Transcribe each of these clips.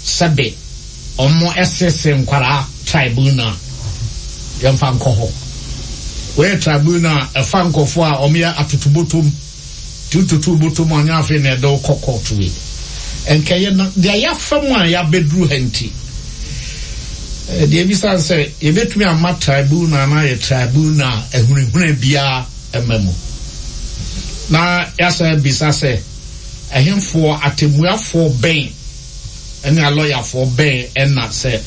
sɛbe ɔmo ɛsese nkwaraa tribunal yɛmfa nkɔ hɔ. Wei yɛ tribunal a ɛfa nkorɔfoɔ a ɔmo yɛ atotobotom nti wototo botom a ɔnyɛ afei na ɛde wo kɔ court wei. Nkɛyɛ na deɛ yɛafa mu a yɛabɛduru ha nti deɛ ebisa ne sɛ yɛbɛtumi ama tribunal no ayɛ tribunal a ahunahuna biara mma mu. Na yɛasan abisa sɛ ɛhefoɔ atemmuafoɔ bɛn ne alɔyafoɔ bɛn na sɛ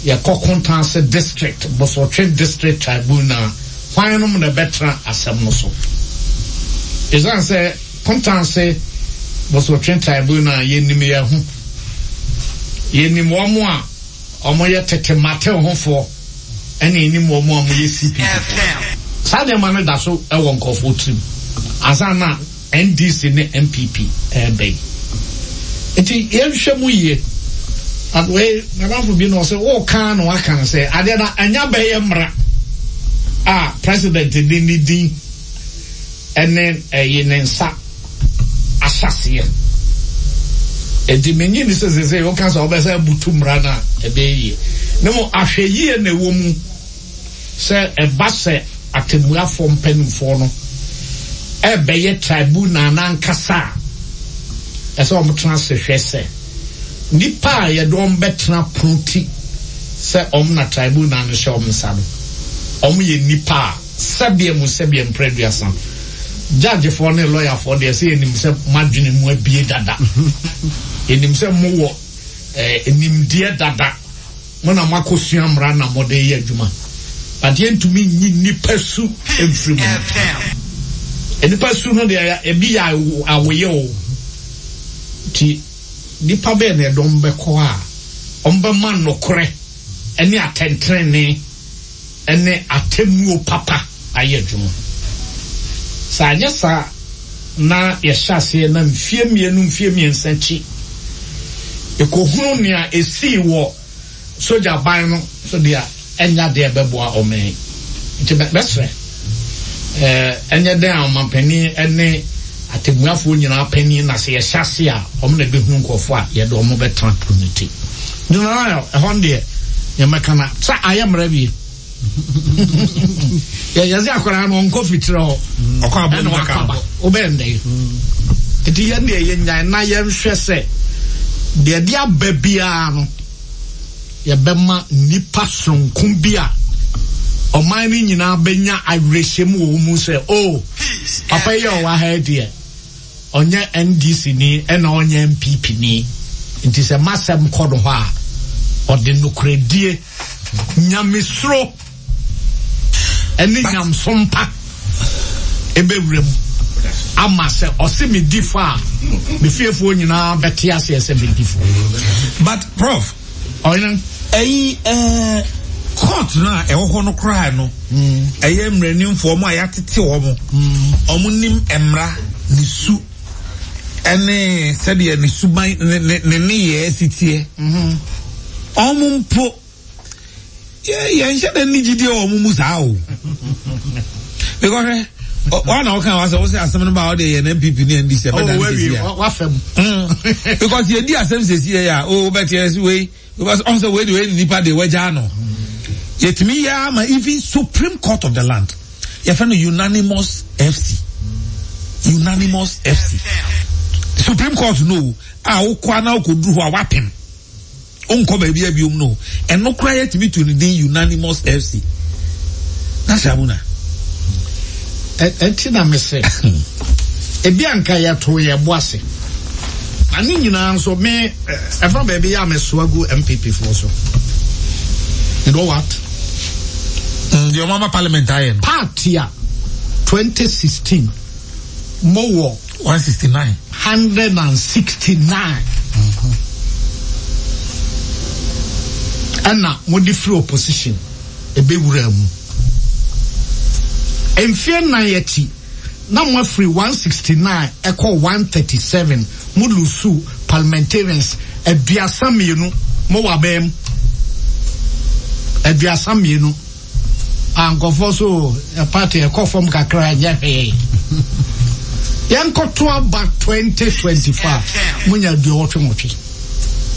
yɛkɔ Kontanse District, Bosotwe District Tribunal, hwan nom na ɛbɛtena asɛm no so? Ɛsiane sɛ Kontanse Bosotwe Tribunal yɛnim yɛn ho, yɛnim wɔn a wɔyɛ tete matehofoɔ ɛna yɛnim wɔn a wɔyɛ CPP foɔ. Saa nneɛma no da so wɔ nkurɔfoɔ tirim ansa na NDC ne NPP ɛɛba yi. Nti yɛnhwɛ mu yie. But wei madamfo bi na ɔsɛ woka na waka no sɛ adeɛ na ɛnya bɛyɛ mmara a president de ne din ɛne ɛyi ne nsa ahyɛseɛ. Nti menyi ne sɛ sese woka sɛ wobɛsɛ abutu mmara no a ɛbɛyɛ yie. Ne mo ahwɛ yie na ɛwɔ mu. Sɛ ɛba sɛ atɛmmuafoɔ mpanimfoɔ no rebɛyɛ tribunal no ankasa a, ɛsɛ sɛ wɔtena ase hwɛ sɛ nnipa a yɛde wɔn bɛtena pono ti sɛ wɔn na tribunal no hyɛ wɔn nsa no, wɔyɛ nnipa a sɛbeɛ mu sɛbeɛ mprɛ aduasa. Judgefoɔ ne lɔyafoɔ deɛ sɛ yɛnim sɛ mo adwene mu abue dada. Yɛnim sɛ mowɔ eh, nimdeɛ dada. Mo na moakɔsua mmara na mode reyɛ adwuma, but yɛntumi nyi nnipa su mfiri mo mu. Nnipa su no deɛ ebi yɛ awoyɛ o. Nti nnipa bɛɛ na ɛdɔm bɛkɔ a wɔbɛma nokorɛ ne atɛntenenee ne atemmuo papa ayɛ adwuma. Sɛ anyɛ saa na yɛhyɛ aseɛ na mfeɛ mmienu, mfeɛ mmiɛnsa akyi, yɛkɔhunu nea ɛsii wɔ sogya ban no so deɛ a, ɛnyɛ adeɛ a ɛbɛboa ɔman yi. Nti mɛsrɛ, ɛnyɛ dɛn a ɔmampanin ne atemmuafoɔ nyinaa panin na sɛ yɛhyɛ ase a, wɔn na ɛbɛhunu nkurɔfoɔ a yɛde wɔn bɛtena pono no ti. Nti ɛhɔ no deɛ, yɛmmɛka na sɛ ayɛ mmara wie. Yɛsɛ akwadaa no ɔnkɔ fitiri hɔ ɔkɔ abɔ ɛna wakɔ aba wobɛyɛ ndɛ yi nti yɛn deɛ yɛnyan na yɛnhwɛ sɛ deɛ de aba biara no yɛbɛma nipa soronko bi a ɔman no nyinaa bɛnya awerɛhyɛm wɔ wɔn mu sɛ o oh, papa yi a ɔwɔ ha yi deɛ Ɔnyɛ NDC ni ɛna ɔnyɛ NPP ni nti sɛ masɛm kɔ no hɔ a ɔde nokorɛdie, nyamesuro ɛne nyamsom pa ɛbɛwura mu ama sɛ ɔse me di fɔ a me fiefoɔ nyinaa bɛte aseɛ sɛ me di fɔ. But prof. Ɔhene. Ɛyi ɛɛ court no a ɛwɔ hɔ no koraa no ɛyɛ mmaranimfoɔ wɔn a yɛatete wɔn wɔn nim mmara ne su ɛne sɛdeɛ ne suban ne ne ne nneyɛɛ si teɛ wɔn mpo yɛnhyɛ dɛ ne gyidie wɔ wɔn mu saa o because hwɛ wọn na ɔka wa sɛ wosɛ asɛm no ba ɔde yɛ npp ne ndc ɛbɛda ne sisi a wafɛm because yɛdi asɛm sisi yɛ a o bɛte ɛsi wei because ɔn sɛ wei de wei nipa de wagya no yɛtumi yɛ ama even supreme court of the land yɛfɛ no unanimous fc unanimous fc supreme court no a wokɔ ana wokɔduru hɔ a wapem Wonkɔ baabi a biom no, ɛno koraa yɛtumi to ne din unanimous FC. Na sɛ abuna. Ɛnti na mese, ebi anka yɛto yɛ bo ase. Na ne nyinaa nso me ɛfa baabi yɛ a mesoa gu MPP foɔ so. You know what? Deɛ ɔmo ama parliament ayɛ no. Party a 2016 mowɔ 169. 169 ɛna mode firi opposition ɛbɛwuraa mu. Mfeɛ nnan akyi na moafiri 169 ɛkɔ 137, mo lusu parliamentarians 32, mowɔ abɛn mu 32. Ah, nkurɔfoɔ so eh, party ɛkɔ fam kakra nyɛ hwee. Yɛnkɔto aba 2025 monya aduɔwɔtwe nwɔtwe.